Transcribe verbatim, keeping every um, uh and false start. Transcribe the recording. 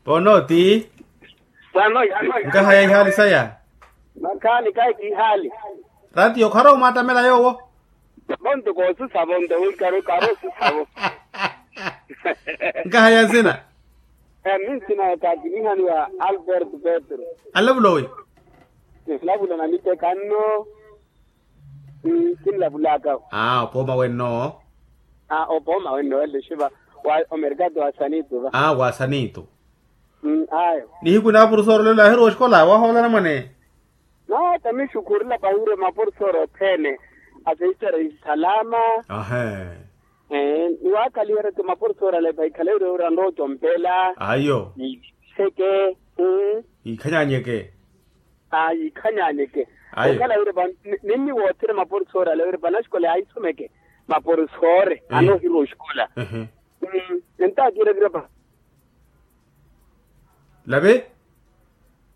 Pono ti. Nkaha ya ihaali saya. Makhaani kahi kihaali. Ratiyo khara omwattamela yoowo. Vonto koosisavo nto wikari okari osisavo. Nkaha ya nsina. Minsina ya kakinihani wa albert petro. Anlavulowi. Nlavula na miteka nno. Kinlavulaka. Aa opooma wenno. Aa opooma wenno welle xiva. Wa omerkatu wa sanitu va. Aa wa sanitu. Ayo. Nihiku na aporosoro lelo ahirowa oxikola wahoolana mwane. Nata mixukhurela pahi wira maporosoro othene aseittara isalama. Ahe. Niwakhaliheriya ti maporosoro ale pahi khale wira wira anrowa ocompela. Ayo. Nixeke. Yikhanyanyeke. Aa yikhanyanyeke. Okhala wira ninni woothene maporosoro ale wira panaxikola yahisomeke maporosoro anohirwa oxikola. Entakiira kira pa. Lave.